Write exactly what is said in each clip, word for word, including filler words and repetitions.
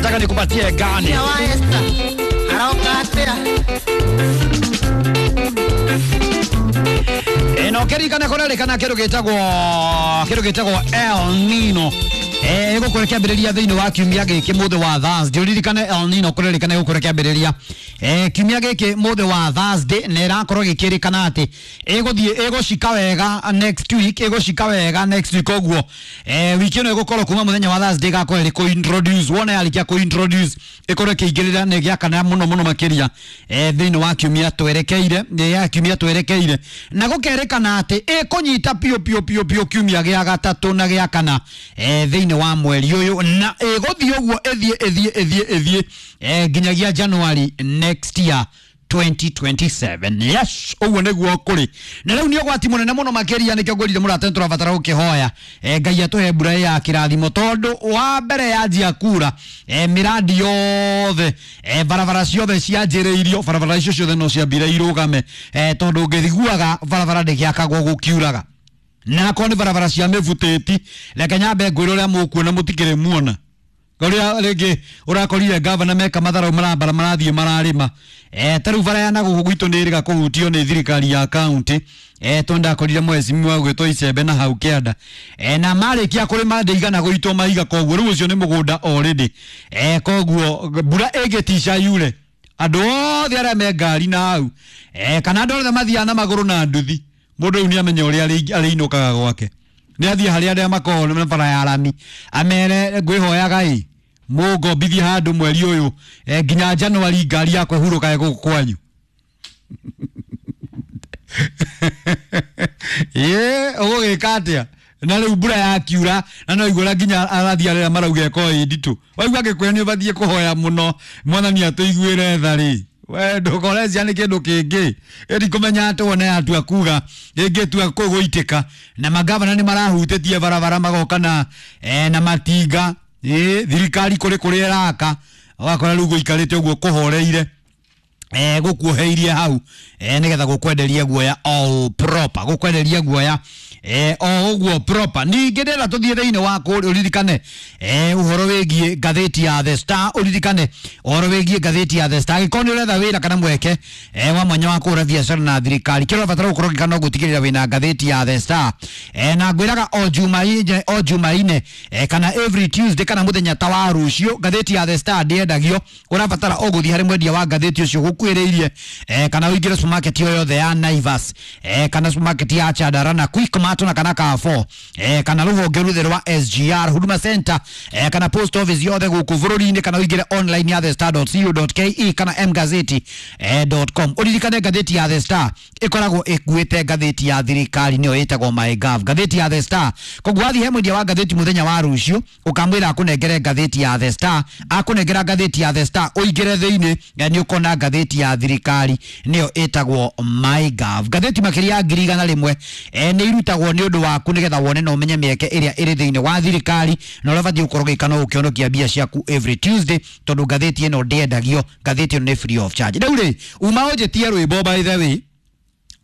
Unataka nikupatie gani? Eno kerikana korerikana kindu gitagwo kindu gitagwo El Nino. Eh igukorwo kiambiriria thiini wa kiumia giki muthi wa Thursday. Uririkane El Nino kurerikana igukorwo kiambiriria eh kiumia giki muthi wa Thursday, na irakorwo gikirikana ati iguthie igucika wega next week, igucika wega next week oguo. Eh wiki ino igukorwo kuma muthenya wa Thursday igakorwo iri ku introduce wona yarikia ku introduce ikorwo ikiingirira ni giakana muno muno makiria eh thiini wa kiumia twerekeire, ya kiumia twerekeire, na gukerikana ati ikunyita pio pio pio pio kiumia gia gatatu na gia kana eh thiini wa mweri uyu, na iguthie uguo ithie ithie ithie ithie eh nginyagia January next year twenty twenty-seven. Yes, uguo niguo kuri. Na riu ni ugwati munene muno makiria, nikio ngwirire murate turabatara gukihoya eh Ngai atuhe mbura ya kirathimo, tondu wa mbere yanjia kura eh miradi yothe eh barabara ciothe cianjiriirio, barabara icio ciothe no ciambire irugame eh tondu ngithiguaga barabara ndigiakagwo gukiuraga, na akorwo ni barabara cia mĩbutĩti. Reke nyambe ngwĩre ũrĩa mũkuona mũtikĩrĩ muona ũrĩa rĩngĩ ũrakorire gavana meka matharau marambara marathiĩ mararĩma eh ta rĩu bara ya nagũkũ gwitũ nĩ ĩrĩga kũhutio nĩ thirikari ya kaunti eh tondũ ndakorire mwecimiwa gwĩtwo Icembe na hau kĩanda eh na marĩkia kũrĩma ndĩigana gũitwo mahiga, koguo rĩu ũcio nĩ mũgũnda already eh koguo mbura ĩngĩtica yure andũ othe arĩa me ngari na hau eh kana andũ othe mathiaga na magũrũ na nduthi, mundu riu ni amenya uria ariinukaga gwake, ni athie haria aria makoragwo na bara ya rami amere ngwihoyaga i mungombithie handu mweri uyu nginya January ngari yakwa ihurũkage gũkũ kwanyu. Ĩ ũgũgĩka atĩa na rĩu mbura yakiura na no igũra nginya arathi arĩa marauga ĩkorwo ĩ nditũ, waigua angĩkwĩra nĩ ũbatiĩ kũhoya mũno Mwathani atũiguĩre tha rĩ, we ndukorecia nĩ kĩndũ kĩngĩ ĩri kũmenya atĩ wone atua kuga ĩngĩtua kũgũitĩka, na magavana nĩ marahutĩtie barabara magoka na eh, na matinga ĩ thirikari kũrĩ kũrĩa ĩraka ũgakora rĩu gũikarĩte ũguo kũhoreire eh gukuheirie hau eh nigetha gukwenderia guoya all proper, gukwenderia guoya eh o uguo proper. Ningi ndĩrenda tuthie thiini wa kũrĩa uririkane eh uhoro wigie ngathĩti ya The Star, uririkane uhoro wigie ngathĩti ya The Star. Angĩkorwo nĩ ũretha wĩra kana mweke eh wa mwanya wa kũhũra biacara na thirikari, kĩrĩa ũrabatara gũkorwo ũgĩka no gũtigĩrĩra wĩna ngathĩti ya The Star eh na ngwĩraga o Jumaine, o Jumaine eh kana every Tuesday kana mũthenya ta wa rũciũ ngathĩti ya The Star ndĩendagio. Ũrabatara o gũthiĩ harĩ mwendia wa ngathĩti ũcio gũkuhĩrĩirie eh kana ũingĩre supermarket yo yothe ya Naivas eh kana supermarket ya Chandarana na Quickmart na kana Carrefour eh kana rũhonge ruthe rwa S G R Huduma Center eh kana post office yothe gũkũ bũrũri-inĩ, kana ũingĩre online ya the star dot co dot ke kana mgazeti dot com. Ũririkane ngathĩti ya The Star ĩkoragwo ĩkuĩte ngathĩti ya thirikari nĩyo ĩtagwo MyGov, ngathĩti ya The Star. Koguo wathiĩ he mwendia wa ngathĩti mũthenya wa rũciũ ũkamwĩra akũnengere ngathĩti ya The Star, akũnengera ngathĩti ya The Star ũingĩre thĩinĩ nĩ ũkona ngathĩti ya thirikari nĩyo ĩtagwo MyGov. Ngathĩti makĩria ya ngiri igana rĩmwe eh, nĩ irutagwo nĩ ũndũ waku nĩgetha wone na ũmenye mĩeke ĩrĩa ĩrĩ thĩinĩ wa thirikari na ũrĩa ũbatiĩ gũkorwo ũgĩka no ũkĩhonokia mbia ciaku every Tuesday, tondũ ngathĩti ĩno ndĩendagio, ngathĩti ĩno nĩ free of charge. Rĩu rĩ uma ũnjĩtie rwĩmbo, by the way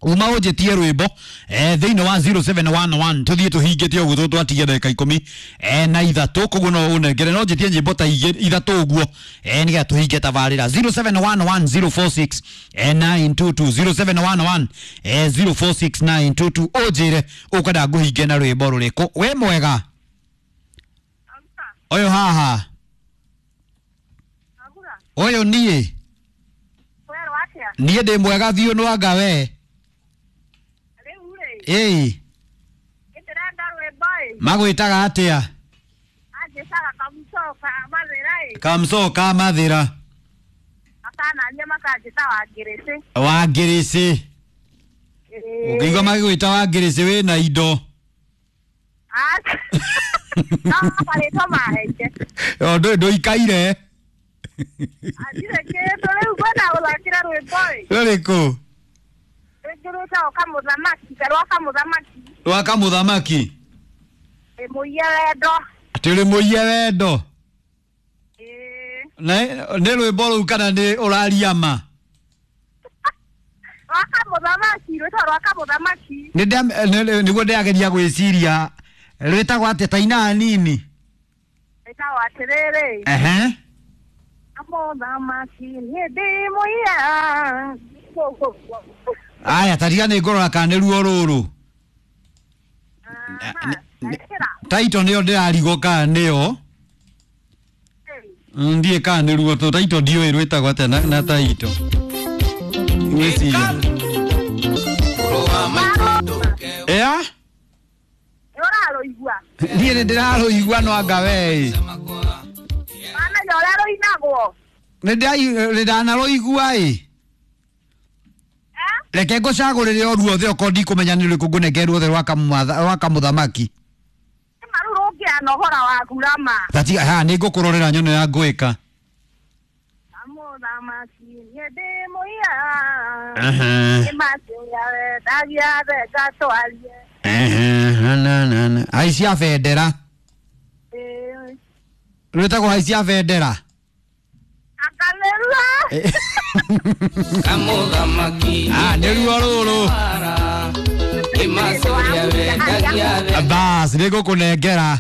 uma ũnjĩtie rwĩmbo eh, thĩinĩ wa zero seven one one tũthiĩ tũhingĩte ũguo twatigia ndagĩka ikũmi eh, na ithatũ, koguo no ũnengere no njĩtie nyĩmbo ta ithatũ ũguo eh, nĩgetha tũhinge tabarĩra zero seven one one zero four six nine two two zero seven one one zero four six nine two two ũnjĩre ũkwenda ngũhinge na rwĩmbo rũrĩkũ. Wĩ mwega ũyũ haha ũyũ niĩ niĩ ndĩ mwega biũ no anga we. Ĩĩ magwĩtaga atĩa? Kamũco ka Mathĩra Wangĩrĩcĩ. Ũngĩigua magĩgwĩta Wangĩrĩcĩ wĩna indo. Ndũikaire rũrĩkũ? Rwa kamũthamaki atĩ ũrĩ mũiye wendo nĩ rwĩmbo rũu kana nĩ ũraria ma? Nĩguo ndĩrageria gwĩciria rwĩtagwo atĩa ta ina nini? Ehe. Kamũthamaki niĩ ndĩ mũira. Aya tariga nĩ ngũrora kana nĩ ruo rũrũ. Taito nĩyo ndĩrarigwo kana nĩyo. Ndiĩ kana nĩ ruo tũ taito ndiũĩ rwĩtagwo atĩa na, na taito. Ngwĩciria. Ĩa? Ũrarũigua. Niĩ nĩ ndĩrarũigua no anga we. Wamenya ũrĩa rũinagwo. Nĩ ndanarũigua ĩ. Reke ngũcagũrĩre o ruothe okorwo ndikũmenya nĩ rũrĩkũ ngũnengere ruothe rwa kamũthamaki. Nĩma rĩu rũngĩanohora waku rama. Tatiga ha nĩ ngũkũrorera nyone ya ngwĩka. Kamũthamaki niĩ ndĩ mũira. Nĩmatũya wendagia thenga twarie. Haicia bendera. Rwĩtagwo haicia bendera. Anga nĩruo. Kamũthamaki. Ah, nĩruo rũrũ. Bas, nĩ ngũkũnengera.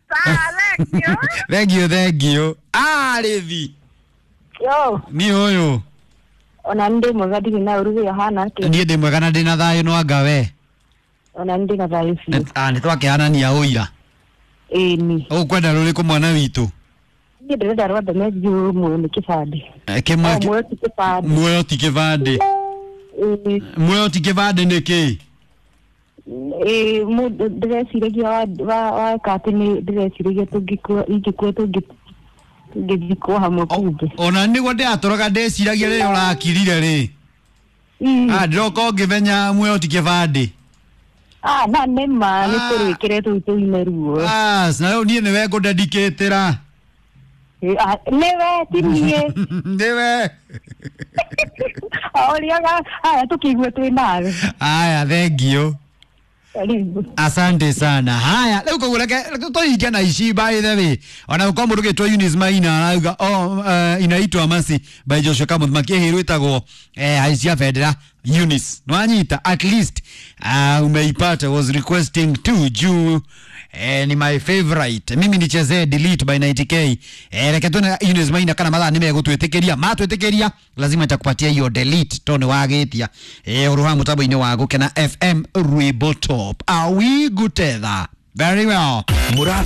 Sawa, thank you. Thank you, thank you. Ah, rĩthi. Yo. Ni ũyũ. Ona ndĩ mwega ndirĩ na ũru wĩ hana atĩa? Niĩ ndĩ mwega na ndĩ na thayũ no anga we. Ona ndĩ na thayũ biũ. Ah, nĩ twakĩhanania ũira. Ĩni. Ũkwenda rũrĩkũ mwana witũ? Niĩ ndĩrenda rwa Demetrio muoyo nĩ kĩbandĩ. Kĩmwe Muoyo ti kĩbandĩ. Muoyo ti kĩbandĩ. Muoyo ti kĩbandĩ nĩ kĩĩ? Ĩĩ mũndũ ndĩreciragia weka atĩ nĩ ndĩreciragia tũngĩkua ingĩkua tũngĩthikwo hamwe kumbe. Ona nĩguo ndĩratũraga ndĩciragia rĩrĩa ũrakirire rĩ. Ah, ndĩroka ũngĩmenya muoyo ti kĩbandĩ. Ah, na nĩ ma nĩ tũrwĩkĩre tũu tũine ruo. Bas, na rĩu niĩ nĩwe ngũdedicatĩra. Nĩwe ti niĩ. Nĩwe. Ũrĩaga haya tũkĩigue twĩ nawe. Aya, thank you. Karibu. Asante sana. Haya, rĩu koguo reke tũhinge na ici by the way. Ona gũkorwo mũndũ ũgĩtwo Eunice Maina arauga oh, uh, inaitwa Mercy by Joshua Kamũthamaki ĩhĩ rwĩtagwo eh, haicia bendera Eunice. Nwanyita at least uh, umeipata. Was requesting to juu eh, ni my favorite. Mimi nichezee delete by ninety K. Eh, reke tuone Eunice Maina kana mathaa nĩmegũtwĩtĩkĩria. Matwĩtĩkĩria lazima nitakupatia hiyo delete tondũ nĩwagĩtia. Eh, ũrũha mũtambo-inĩ wa Gũkena F M Rwĩmbo Top. Are we good together? Very well. Murat